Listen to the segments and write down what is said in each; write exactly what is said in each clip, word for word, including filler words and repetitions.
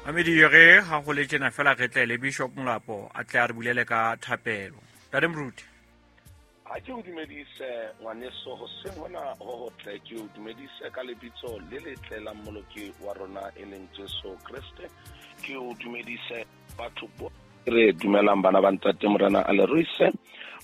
Mamedi re ha go le tjena fela re tle le Bishop Molapo a tle a re bulele ka thapelo. Ntate Moruti. Ha ke o dumedise ngwaneso hoseng hona ho hotle, ke o dumedise ka lebitso le letle la Mmoloki wa rona e leng Jesu Kreste. Ke o dumedise batho bo re dumelang bana ba ntate Morena a le ruise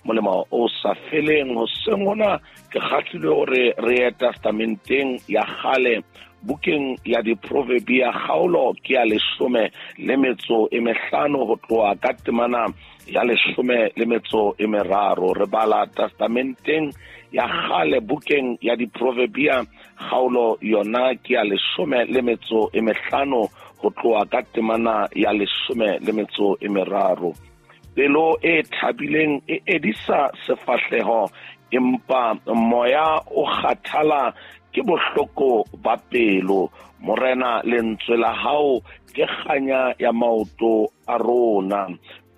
molemo o sa feleng. Hoseng hona ke kgahlilwe hore re ye testamenteng ya kgale, bukeng ya Diproverbia kgaolo ke ya leshome le metso e mehlano ho tloha ka temana ya leshome le metso e meraro. Re bala testamenteng ya kgale bukeng ya Diproverbia kgaolo yona ke ya leshome le metso e mehlano ho tloha ka temana ya leshome le metso e meraro. Pelo e thabileng e edisa sefahleho, empa moya o kgathala ke bohloko ba pelo. Morena, lentswe la hao ke kganya ya maoto a rona.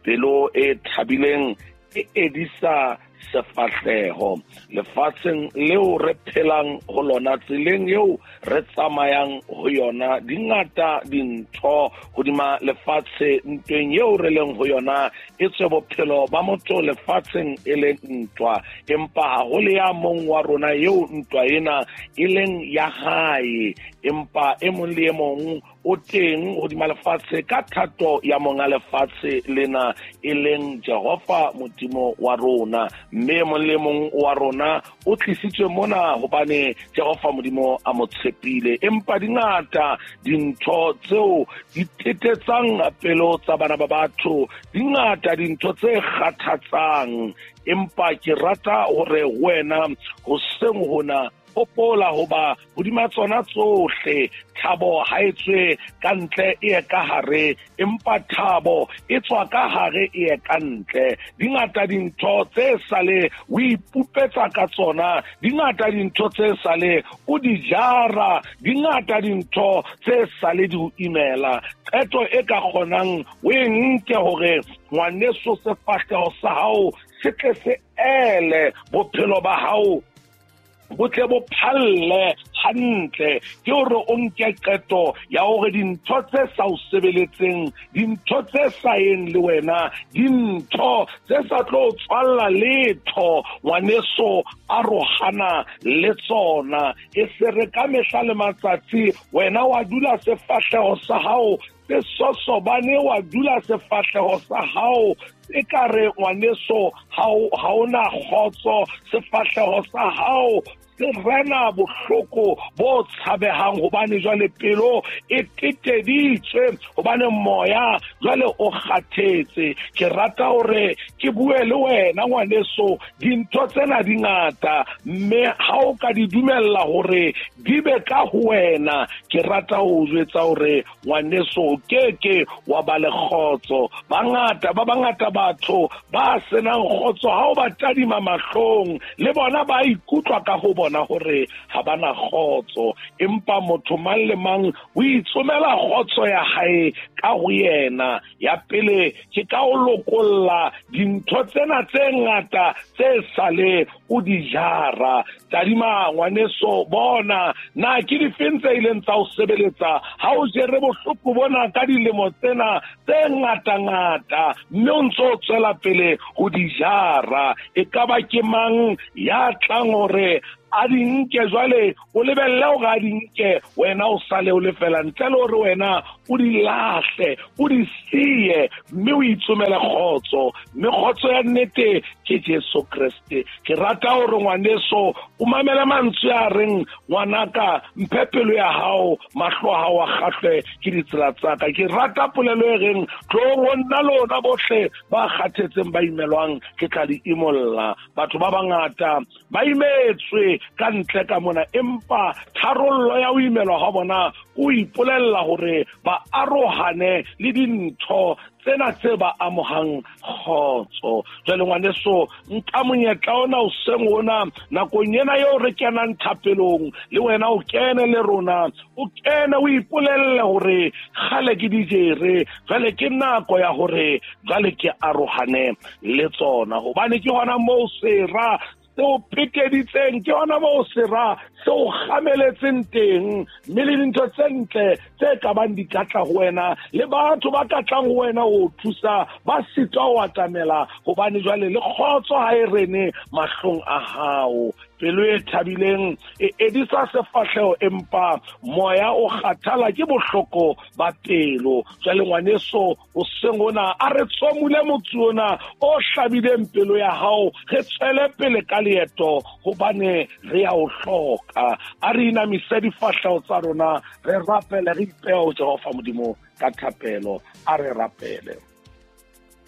Pelo e thabileng e edisa sefahleho. Lefatsheng leo re phelang ho lona, tseleng eo re tsamayang ho yona, di ngata dintho hodima lefatshe. Ntweng eo re leng ho yona, e tswe bophelo ba motho lefatsheng e leng ntwa, empa ha ho le ya mong wa rona eo ntwa ena e leng ya hae, empa e mong le e mong o teng hodima lefatshe ka thato ya monga lefatshe lena e leng Jehova Modimo wa rona. Mme mong le mong wa rona o tlisitswe mona hobane Jehova Modimo a mo tshepile. Empa di ngata dintho tseo di tetetsang pelo tsa bana ba batho, di ngata dintho tse kgathatsang, empa ke rata hore wena hoseng hona hopola hoba hodima tsona tsohle thabo ha e tswe ka ntle e ye ka hare, empa thabo e tswa ka hare e ye ka ntle. Di ngata dintho tse sale o ipupetsa ka tsona, di ngata dintho tse sale o di jara, di ngata dintho tse sale di o imela. Qeto e ka kgonang o e nke hore ngwaneso sefahleho sa hao se tle se ele, bophelo ba hao bo tle bo phalle hantle, ke hore o nke qeto ya hore dintho tse sa o sebeletseng, dintho tse sa yeng le wena, dintho tse sa tlo tswalla letho, ngwaneso arohana le tsona. E se re ka mehla le matsatsi wena wa dula sefahleho sa hao se sosobane, wa dula sefahleho sa hao e ka re ngwaneso ha o na kgotso, sefahleho sa hao se rena bohloko bo tshabehang, hobane jwale pelo e teteditswe, hobane moya jwale o kgathetse. Ke rata hore ke bue le wena ngwaneso, dintho tsena di ngata, mme ha o ka di dumella hore di be ka ho wena, ke rata ho jwetsa hore ngwaneso o keke wa ba le kgotso. Bangata ba bangata batho ba senang kgotso, ha o ba tadima mahlong le bona ba ikutlwa ka ho bona hore ha bana kgotso, empa motho mang le mang o itsomela kgotso ya hae ka ho yena. Ya pele ke ka o lokolla dintho tsena tse ngata tse sale o di jara. Tadima ngwaneso, bona na ke difeng tse ileng tsa o sebeletsa ha o jere bohloko bona ka dilemo tsena tse ngata-ngata, mme o ntso o tswela pele ho di jara. E ka ba ke mang ya tlang hore a di nke jwale, o lebelle hore a di nke, wena o sale o lefela, ntle le hore wena o di lahle, o di siye, mme o itsomele kgotso. Mme kgotso ya nnete ke Jesu Kreste. Ke rata hore ngwaneso o mamele mantswe a reng, ngwanaka mphe pelo ya hao, mahlo a hao a kgahlwe ke ditsela tsa ka. Ke rata polelo e reng, tloong ho nna lona bohle ba kgathetseng ba imelwang, ke tla le imolla. Batho ba bangata ba imetswe ka ntle ka mona, empa tharollo ya ho imelwa ha bona o ipolella hore ba arohane le dintho tsena tse ba amohang kgotso. Jwale ngwaneso, nka monyetla ona hoseng ona, nakong ena eo re kenang thapelong, le wena o kene le rona, o kene o ipolelle hore kgale ke di jere, jwale ke nako ya hore jwale ke arohane le tsona, hobane ke hona moo sera se o pekeditseng, ke hona moo sera se o kgameletseng teng, mme le dintho tse ntle tse ka bang di ka tla ho wena le batho ba ka tlang ho wena ho thusa ba sitwa ho atamela, hobane jwale le kgotso ha e rene mahlong a hao. Pelo e thabileng e edisa sefahleho, empa moya o kgathala ke bohloko ba pelo. Jwale ngwaneso, hoseng hona a re tsomule motsu ona o hlabileng pelo ya hao, re tswele pele ka leeto hobane re ya o hloka. A re inamise difahleho tsa rona, re rapele, re ipehe ho Jehova Modimo ka thapelo. A re rapele.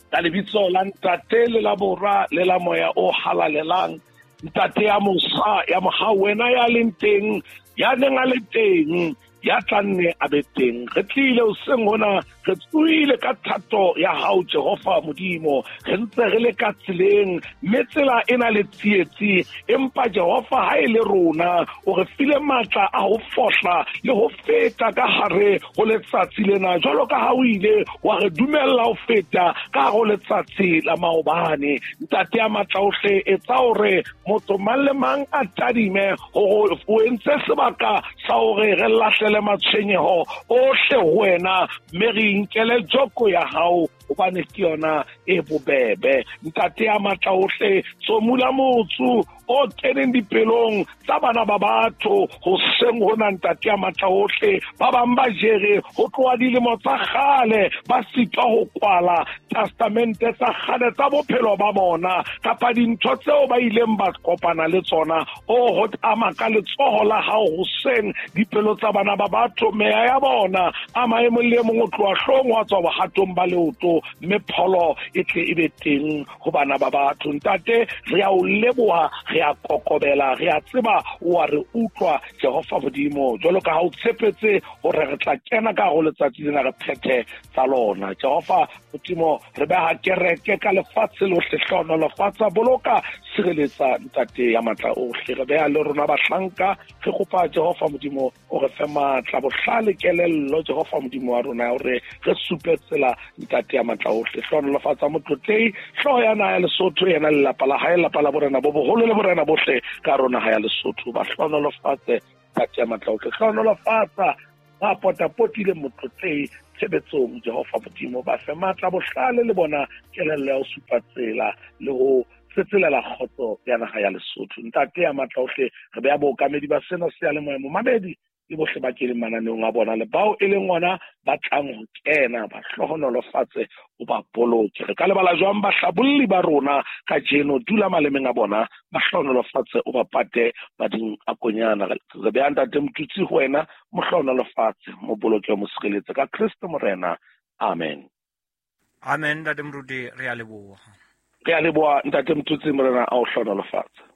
Ka lebitso la Ntate le la Bora le la Moya o Halalelang, Ntate ya mosa ya mohau, wena ya leng teng, ya neng a le teng, ya tla nne a be teng. Re tlile hoseng hona, re tsohile ka thato ya hao Jehova Modimo, re ntse re le ka tseleng, mme tsela e na le tsietsi, empa Jehova ha e le rona o re file matla a ho fohla le ho feta ka hare ho letsatsi lena, jwalo ka ha o ile wa re dumella ho feta ka hare ho letsatsi la maobane. Ntate ya matla ohle, etsa hore motho mang le mang a tadime hore o entse sebaka sa hore re lahlele matshwenyeho ohle ho wena, mme re inkele joko ya hao hobane ke yona e bobebe. Ntate ya matla ohle, tsomula motsu o keneng dipelong tsa bana ba batho hoseng hona. Ntate ya matla ohle, ba bang ba jere ho tloha dilemo tsa kgale, ba sitwa ho kwala testamente tsa kgale tsa bophelo ba bona kapa dintho tseo ba ileng ba kopana le tsona. O ho ama ka letsoho la hao hoseng dipelo tsa bana ba batho, meya ya bona ama e mong le e mong o tloha hloohong wa tswa bohatong ba leoto, mme pholo e tle e be teng ho bana ba batho. Ntate, re a o leboha, re a kokobela, re a tseba o a re utlwa Jehova Modimo, jwalo ka ha o tshepetse hore re tla kena ka ho letsatsi lena re phethe tsa lona. Jehova Modimo, re beha kereke ka lefatshe lohle, hlohonolofatsa, boloka, sireletsa Ntate ya matla ohle. Re beha le rona bahlanka, re kopa Jehova Modimo o re fe matla, bohlale, kelello Jehova Modimo wa rona, hore re supe tsela Ntate ya matla ohle. Hlohonolofatsa motlotlehi, hlooho ya naha ya Lesotho, yena lelapa la hae, lelapa la borena bo boholo le borena bohle ka rona ha ya Lesotho. Ba hlohonolofatse Ntate ya matla ohle, hlohonolofatsa ba potapotile motlotlehi tshebetsong Jehova Modimo, ba fe matla, bohlale le bona kelello ya ho supa tsela le ho tsetselela kgotso ya naha ya Lesotho. Ntate ya matla ohle, re beha bookamedi ba sena seyalemoya momamedi le bohle ba keneng mananeong a bona le bao e leng ona ba tlang ho kena, ba hlohonolofatse, o ba boloke. Re ka lebala jwang bahlabolli ba rona kajeno, dula malemeng a bona, ba hlohonolofatse, o ba pate mading a konyana. Re beha Ntate Motutsi ho wena, mo hlohonolofatse, mo boloke, mo sireletse ka Kreste Morena. Amen. Amen. Ntate Moruti, re a leboha. Re a leboha Ntate Motutsi, Morena a o hlohonolofatse.